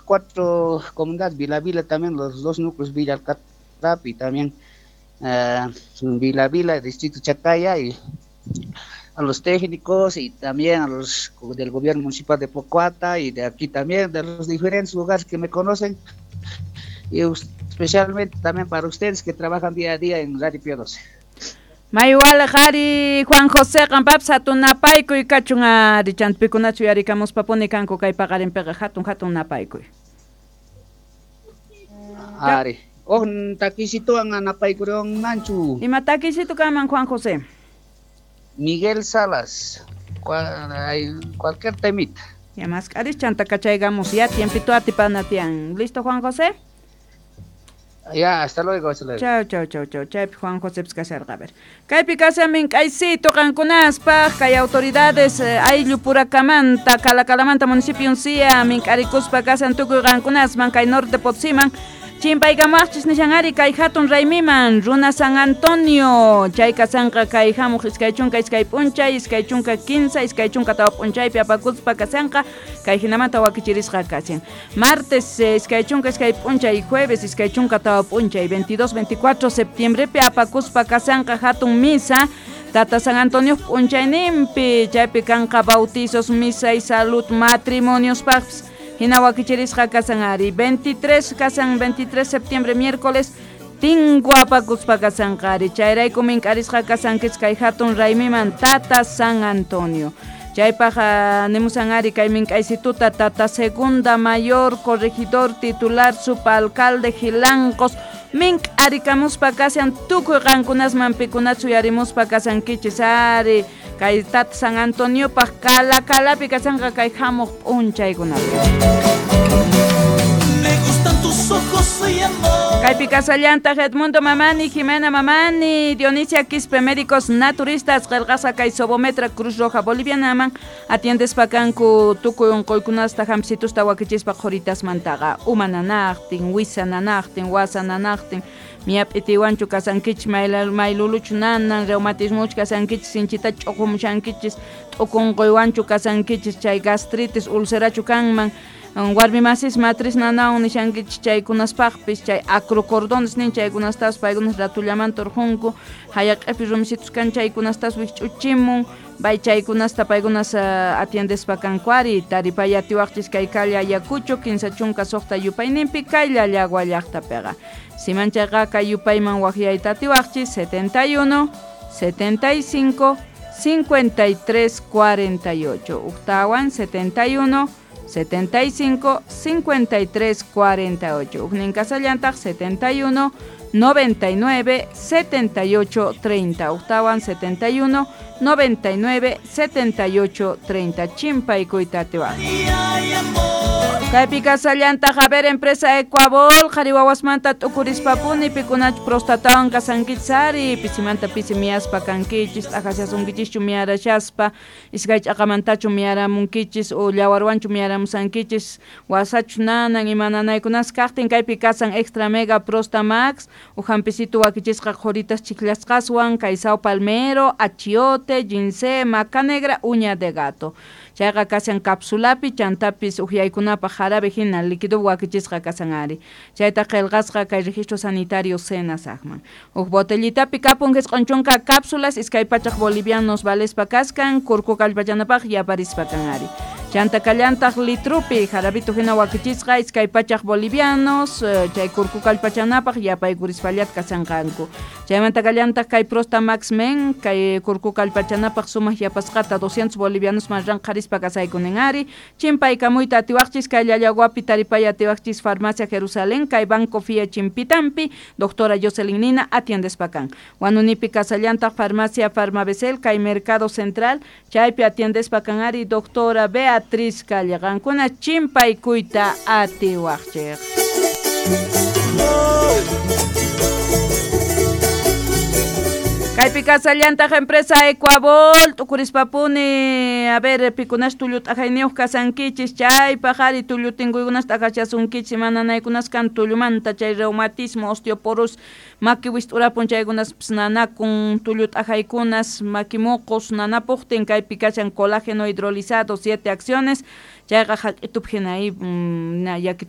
Cuatro comunidades, Vila Vila también, los dos núcleos, Villa Alcatrap y también Vila Vila, Distrito Chacaya, y a los técnicos y también a los del gobierno municipal de Pocoata y de aquí también, de los diferentes lugares que me conocen, y especialmente también para ustedes que trabajan día a día en Radio Pío 12. Maywal qhari Juan José qanpapis hatun napaykuy kachun ari chanta pikunachu yarikamuspapuni kanku kay paqarinpiqa hatun hatun napaykuy. Ari, oh takisituwan napaykuriwanmanchu. Ima takisitu kanman Juan José? Miguel Salas, cualquier temita. Ya mask'aris chanta kachaygamos ya tiempito atipana tiyan. ¿Listo Juan José? Ya, hasta luego, hasta luego. Chau, chau, chau, chau. Chaypi Juan José kasharqa, a ver. Kaypi kashamin k'aysito qankunaspaq kay autoridades ayllu purakamanta, Calacalamanta municipio uncia mink'arikuspa kashan tukuy qankunasman kay norte Potosiman. Chimpaykamaqchis nishan ari kay hatun raymiman runa San Antonio chay kasanqa kay hamuq 22 p'unchay 23 24 p'unchaypi apakuspa kasanqa kay hinamanta wakichirisqa kashan martes 22 p'unchay jueves 24 p'unchay 22 24 septiembrepi apakuspa kasanqa hatun misa Tata San Antonio p'unchayninpi chaypi kanqa bautizos misa y salud matrimonios paqpis hina wakichirisqa kasan ari 23 kasan 23 septiembre miércoles tinku apakuspa kasanqa ari chayrayku mink'arisqa kasankichis kay hatun raymiman Tata San Antonio chaypaq nimusan ari kay mink'aysituta Tata Segunda Mayor Corregidor Titular Subalcalde Gilancos mink'arikamuspa kashan tukuy qankunasman pikunachu yarimuspa kasankichis ari kay Tata San Antoniopaq Calacalapi kasanqa kay hamuq p'unchaykunapi. Me gustan tus ojos y amor. Kaypi kasallantaq Edmundo Mamani, Jimena Mamani, Dionisia Quispe, médicos naturistas, qillqasqa kay Sobometra Cruz Roja Bolivianaman, atiendespa kanku tukuy unquykunasta hamsitusta wakichispa qhuritasmantaqa, uma nanaqtin, wisa nanaqtin, wasa nanaqtin, miyap'itiwanchu kasankichis, mayluluchu nanan, reumatismuchu kasankichis, sinchita ch'uqumushankichis, t'ukunquywanchu kasankichis, chay gastritis, ulcerachu kanman, warmi masis matriz nanawan nishankichis chaykunaspaqpis, chay acrocordones nin chaykunastas paykunas ratullamanta urqunku, hayaq'ipi rumisitus kan chaykunastas wikch'uchimun, bay chaykunasta paykunas atiendespa kanku ari, taripay atiwaqchis kay calle Ayacucho 56 yupayninpi kay Llallagua llaqtapiqa. Siman chayqa kay yupayman waqyayta atiwaqchis 71 75 53 48 uktawan 71 75 53 48 ujnin kasallantaq 71 99 78 30 uktawan 71 99 78 30 chimpaykuyta atiwaq. Kaypi kasallantaq a ver empresa Ecuabol qhari wawasmanta t'ukurispapuni pikunachu prostatawan kasankichis ari pisimanta pisi miyaspa kankichis t'aqashasunkichishchu miyarashaspa iskay ch'aqamantachu miyaramunkichis o llawarwanchu miyaramusankichis wasachu nanan ima nanaykunas kaqtin kaypi kasan Extra Mega Prosta Max ujampisitu wakichisqa qhuritas chiklasqaswan kay sao palmero, achiote, ginseng, maca negra, uña de gato. Chayqa kashan capsulapi chantapis uhyaykunapaq jarabe hina líquido wakichisqa kasan ari. Chayta qillqasqa kay registro sanitario Senasaqman. Huk botellitapi kapun 90 cápsulas 200 bolivianos valespa kaskan kurku kallpachanapaq yaparispa kan ari. Chanta kallantaq litrupi jarabito hina wakichisqa 200 bolivianos chay kurku kallpachanapaq yapaykurispallataj kasanqanku. Chaymanta kallantaq kay Prosta Max Men kay kurku kallpachanapaq sumaq yapasqata 200 bolivianos man ranqarispa kasaykunin ari. Chimpaykamuyta atiwaqchis kay Llallaguapi taripay atiwaqchis Farmacia Jerusalén kay Banco Fia Chimpitampi doctora Jocelyn Nina atiendespa kan. Wanunipi kasallantaq Farmacia Farmabesel kay Mercado Central chaypi atiendespa kan ari doctora Beatriz Calle qankuna chimpaykuyta atiwaqchik. Kaypi kasallantaq empresa Ecuabol t'ukurispapuni a ver pikunash tullu t'ajayniyuq kasankichis chaypaq ari tullu tinkuykunas t'aqachasunkichis mananaykunas kan tullumanta chay reumatismo, osteoporosis, maki wist'urapun chaykunaspis nanakun tullu t'ajaykunas maki muqus nanapuqtin kaypi kashan colágeno hidrolizado 7 acciones chayqa haq'itup hina